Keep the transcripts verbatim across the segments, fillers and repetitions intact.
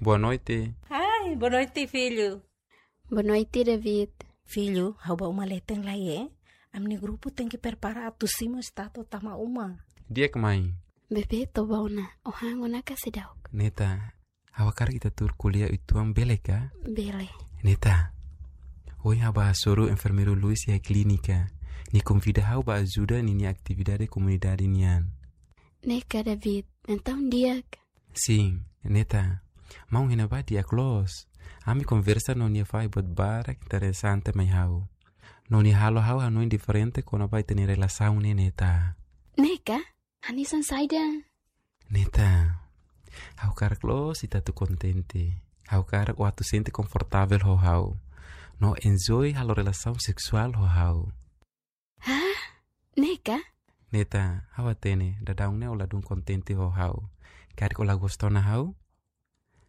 Boa noite. Ai, boa noite, filho. Boa noite, David. Filho, ha'u bá uma leten lai, eh? Ami-nia grupu tenke prepara atu simu estátua tama uma. Di'ak, mãe. Bebé, toba ona. Ó han ona ka seidauk? Neta, ha'u hakarak ita tuur ko'alia uitoan, bele ka? Bele. Neta, ohin ha'u bá hasoru enfermeiru Luis iha klínika. Nia konvida ha'u bá ajuda ninia atividade komunidade nian. Ne'e ka, David? Entaun di'ak. Sin, Neta. Maun iha ne'ebá di'ak loos. Ami konversa no nia fahe buat barak interesante mai ha'u. No nia halo ha'u hanoin diferente kona-ba ita-nia relasaun ne'e, Neta. Ne'e ka? Hanesan saida? Neta, ha'u hakarak loos ita atu kontente. Ha'u hakarak ó atu sente konfortavel ho ha'u. No enjoy halo relasaun seksuál ho ha'u. Hah? Ne'e ka? Neta, ha'u hatene, daudaun ne'e ó ladún kontente ho ha'u. Karik ó la gosta ona ha'u?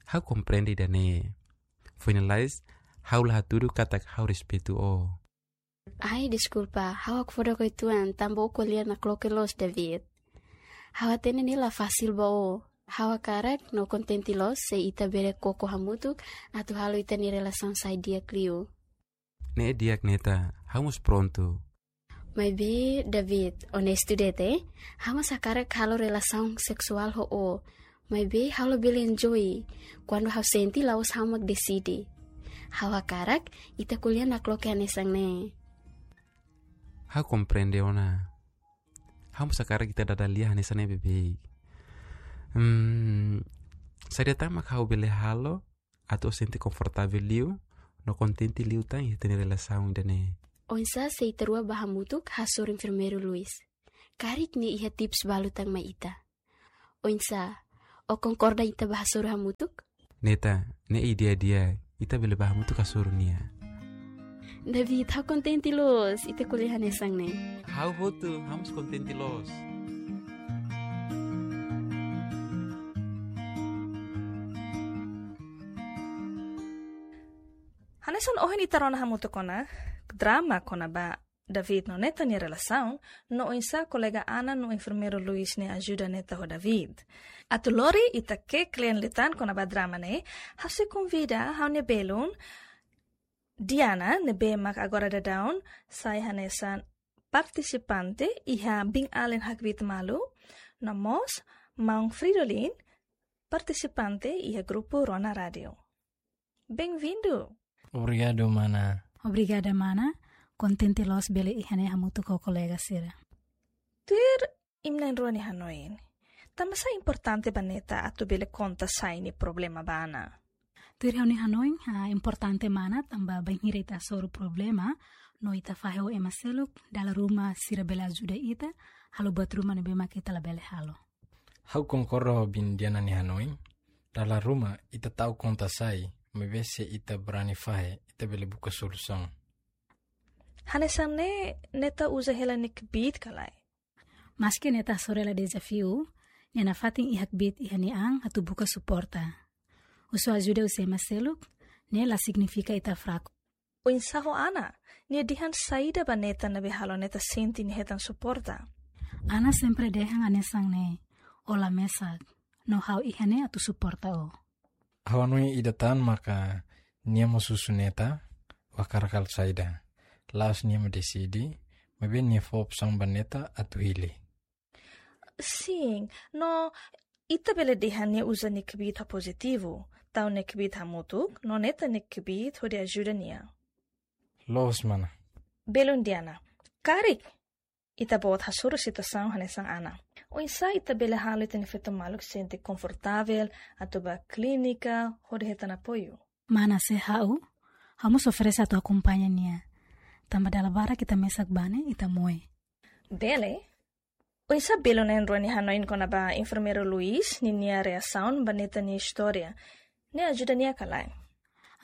Ha'u komprende ida-ne'e. Foin lalais, ha'u la hatudu katak ha'u respeitu ó. Ai, deskulpa, ha'u hakfodak uitoan, tanba ó ko'alia nakloke loos, David. Ha'u hatene ne'e la fasil ba ó. Ha'u hakarak no kontente loos se ita bele koko hamutuk atu halo ita-nia relasaun sai di'ak liu. Ne'e di'ak, Neta, ha'u mós prontu. Maibé, David, onestu de'it, eh? Ha'u mós hakarak halo relasaun seksuál ho ó. Maibé ha'u labele enjoy kuandu ha'u sente la'ós ha'u mak deside. Ha'u hakarak ita ko'alia nakloke hanesan ne'e. Ha'u komprende ona. Ha'u mós hakarak ita dada lia hanesan ne'e beibeik. Hmm, saida tan mak ha'u bele halo atu ó sente konfortavel liu no kontente liután iha ita-nia relasaun ida-ne'e? Oinsá se ita rua bá hamutuk hasoru enfermeiru Luis? Karik nia iha tips balu tan mai ita. Oinsá, ó konkorda ita bá hasoru hamutuk? Neta, ne'e ideia di'ak, ita bele bá hamutuk hasoru nia. David, ha'u kontente loos ita ko'alia hanesan ne'e. Ha'u hotu, ha'u mós kontente loos. Hanesan ohin ita rona hamutuk ona drama kona-ba David no Neta nia relasaun, no oinsá kolega Ana no enfermeiru Luis ne'e ajuda Neta ho David. Atu lori ita ke'e kle'an liután kona-ba drama ne'e, ha'u sei konvida ha'u-nia belun Diana, ne'ebé mak agora daudaun sai hanesan partisipante iha Bin Alin Hakbiit Malu, no mós maun Fridolin, partisipante iha grupu Rona Rádiu. Bem-vindo! Obrigadu, mana. Obrigada, mana. Kontente loos bele iha ne'e hamutuk ho kolega sira. Tuir imi na'in-rua nia hanoin, tanbasá importante ba Neta atu bele konta sai nia problema ba Ana? Tuir ha'u-nia hanoin, ah, importante mana, tanba bainhira ita hasoru problema no ita fahe ho ema seluk, dala ruma sira bele ajuda ita halo buat ruma ne'ebé mak ita labele halo. Ha'u konkorda ho bin Diana nia hanoin. Dala ruma ita ta'uk konta sai, maibé se ita brani fahe, ita bele buka solusaun. Hanesan ne'e, Neta uza hela nia kbiit ka lae? Maski Neta hasoru hela dezafiu, nia nafatin iha kbiit iha nia an atu buka suporta. Husu ajuda husi ema seluk ne'e la signifika ita fraku. Oinsá ho Ana? Nia dehan saida ba Neta ne'ebé halo Neta sente nia hetan suporta? Ana sempre dehan hanesan ne'e: ó la mesak, no ha'u iha ne'e atu suporta ó. Ha'u hanoin ida tan maka nia mós husu Neta, ó hakarak halo saida. La'ós nia mak deside, maibé nia fó opsaun ba Neta atu hili. Sin, no ita bele dehan nia uza nia kbiit ho pozitivu, tau nia kbiit hamutuk, no Neta nia kbiit hodi ajuda nia. Loos, mana. Belun Diana, karik ita-boot hasoru situasaun hanesan Ana, oinsá ita bele halo ita-nia feto maluk sente konfortavel atu bá klínika hodi hetan apoiu? Mana, se ha'u, ha'u mós oferese atu akompaña nia. Tanba dala barak ita mesak bá ne'e, ita moe. Bele. Oinsá belun na'in-rua nia hanoin kona-ba enfermeiru Luis ninia reasaun ba Neta nia istória? Ne'e ajuda nia ka lae?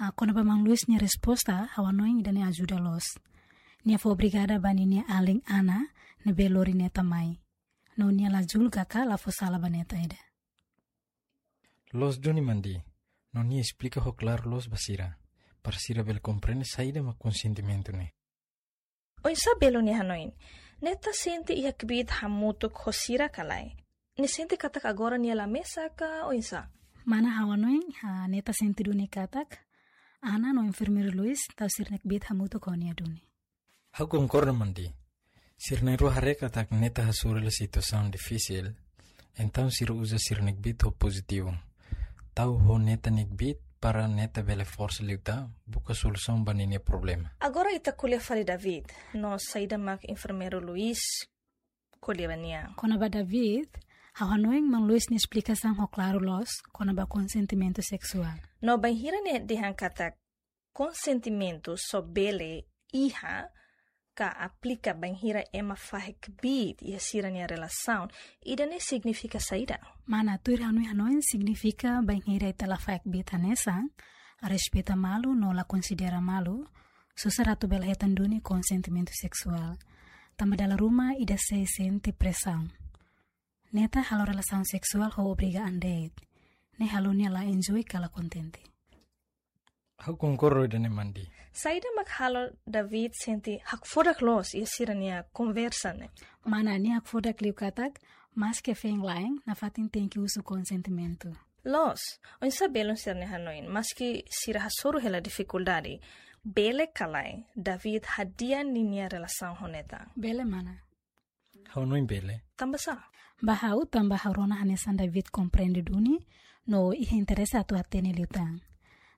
Ah, kona-ba maun Luis nia resposta, ha'u hanoin ida-ne'e ajuda loos. Nia fó obrigada ba ninia alin Ana ne'ebé lori Neta mai. No nia la julga ka la fó sala ba Neta ida. Loos duni, mana. No nia esplika ho klaru loos ba sira, para sira bele komprende saida mak konsentimentu ne'e. Oinsá belun nia hanoin? Neta sente iha kbiit hamutuk ho sira ka lae? Nia sente katak agora nia la mesak ka oinsá? Mana, ha'u hanoin, ah, Neta sente duni katak Ana no enfermeiru Luis tau sira-nia kbiit hamutuk ho nia duni. Ha'u konkorda, Mandi. Sira na'in-rua haree katak Neta hasoru hela situasaun difisil, entaun sira uza sira-nia kbiit ho pozitivu. Tau ho Neta nia kbiit para Neta bele forsa liután buka solusaun ba ninia problema. Agora ita ko'alia fali David, no saida mak enfermeiru Luis ko'alia ba nia. Kona-ba David, ha'u hanoin maun Luis nia esplikasaun ho klaru loos kona-ba konsentimentu seksuál. No bainhira nia dehan katak konsentimentu só bele iha ka aplika bainhira ema fahe kbiit iha sira-nia relasaun, ida-ne'e signifika saida? Mana, tuir ha'u-nia hanoin signifika bainhira ita la fahe kbiit hanesan, respeita malu no la konsidera malu, susar atu bele hetan duni konsentimentu seksuál. Tanba dala ruma ida sei sente presaun. Neta halo relasaun seksuál ho obriga an de'it. Ne'e halo nia la enjoy ka la kontente. Ha'u konkorda ho ida-ne'e, Mandi. Saida mak halo David sente hakfodak loos iha sira-nia konversa ne'e? Mana, nia hakfodak liu katak, maske feen-la'en, nafatin tenke husu konsentimentu. Loos, oinsá belun sira-nia hanoin, maske sira hasoru hela difikuldade, bele ka lae, David hadi'a ninia relasaun ho Neta? Bele, mana. Ha'u hanoin bele. Tanba sá? Ba ha'u, tanba ha'u rona hanesan David komprende duni, no iha interese atu hatene liután.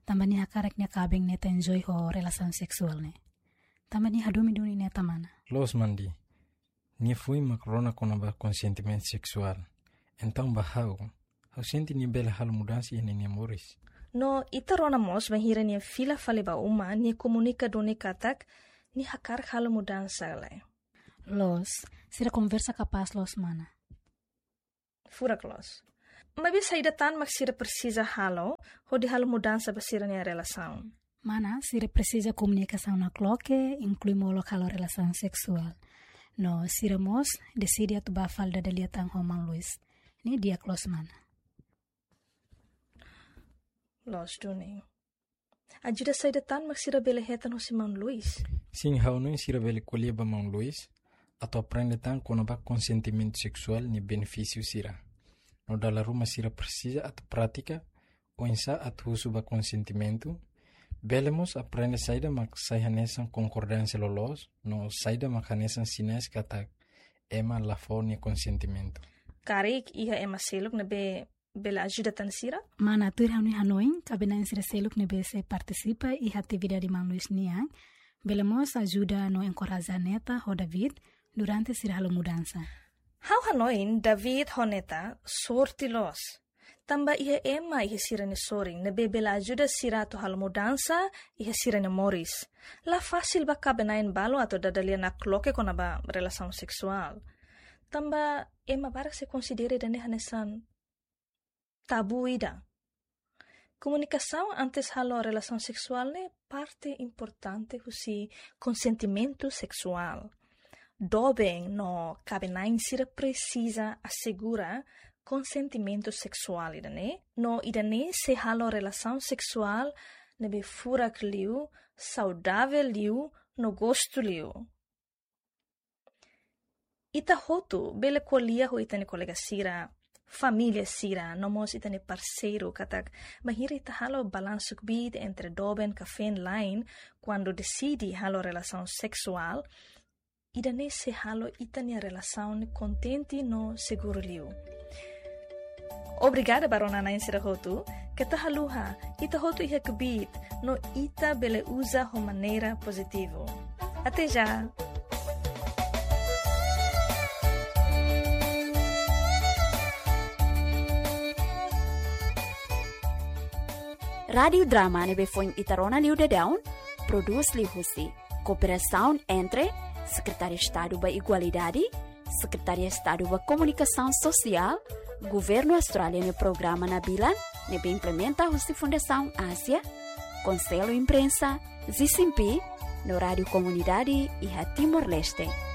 Tanba nia hakarak nia kaben Neta enjoy ho relasaun seksuál ne'e. Tanba nia hadomi duni Neta, mana. Loos, Mandi. Nia foin mak rona kona-ba konsentimentu seksuál. Entaun ba ha'u, ha'u sente nia bele halo mudansa iha ninia moris. No ita rona mós bainhira nia fila fali ba uma, nia komunika duni katak nia hakarak halo mudansa, lae? Loos, sira konversa kapás loos, mana. Furak loos. Maibé saida tan mak sira presiza halo hodi halo mudansa ba sira-nia relasaun? Mana, sira presiza komunikasaun nakloke, inklui molok halo relasaun seksuál. No sira mós deside atu bá fali dada lia tan ho maun Luis. Ne'e di'ak loos, mana. Loos duni. Ajuda saida tan mak sira bele hetan husi maun Luis? Sin, ha'u hanoin sira bele ko'alia ba maun Luis atu aprende tan kona-ba konsentimentu seksuál nia benefísiu sira. No dala ruma sira presiza atu pratika oinsá atu husu ba konsentimentu. Bele mós aprende saida mak sai hanesan konkordánsia loloos, no saida mak hanesan sinais katak ema la fó nia konsentimentu. Karik iha ema seluk ne'ebé bele ajuda tan sira? Mana, tuir ha'u-nia hanoin, kaben-na'in sira seluk ne'ebé sei partisipa iha atividade maun Luis nian, bele mós ajuda no enkoraja Neta ho David durante sira halo mudansa. Ha'u hanoin David ho Neta sorte loos. Tanba iha ema iha sira-nia sorin ne'ebé bele ajuda sira atu halo mudansa iha sira-nia moris. La fasil ba kaben-na'in balu atu dada lia nakloke kona-ba relasaun seksuál. Tanba ema barak sei konsidera ida-ne'e hanesan tabu ida. Komunikasaun antes halo relasaun seksuál ne'e parte importante husi konsentimentu seksuál. Doben no kaben-na'in sira presiza asegura konsentimentu seksuál ida-ne'e, no ida-ne'e sei halo relasaun seksuál ne'ebé furak liu, saudavel liu, no gostu liu. Ita hotu bele ko'alia ho ita-nia kolega sira, família sira, no mós ita-nia parseiru katak, bainhira ita halo balansu kbiit entre doben ka feen-la'en, kuandu deside halo relasaun seksuál, ida-ne'e sei halo ita-nia relasaun kontente no seguru liu. Obrigada ba rona-na'in sira hotu, keta haluha, ita hotu iha kbiit, no ita bele uza ho maneira pozitivu. Até já! Rádiu Drama ne'ebé foin ita rona liu daudaun, prodús liu husi kooperasaun entre Sekretáriu Estadu ba Igualdade, Sekretáriu Estadu ba Komunikasaun Sosiál, Governu Austrália nia programa Nabilan, ne'ebé implementa husi Fundasaun Ázia, Konsellu Imprensa, Zisimpi, no Rádiu Komunidade iha Timor-Leste.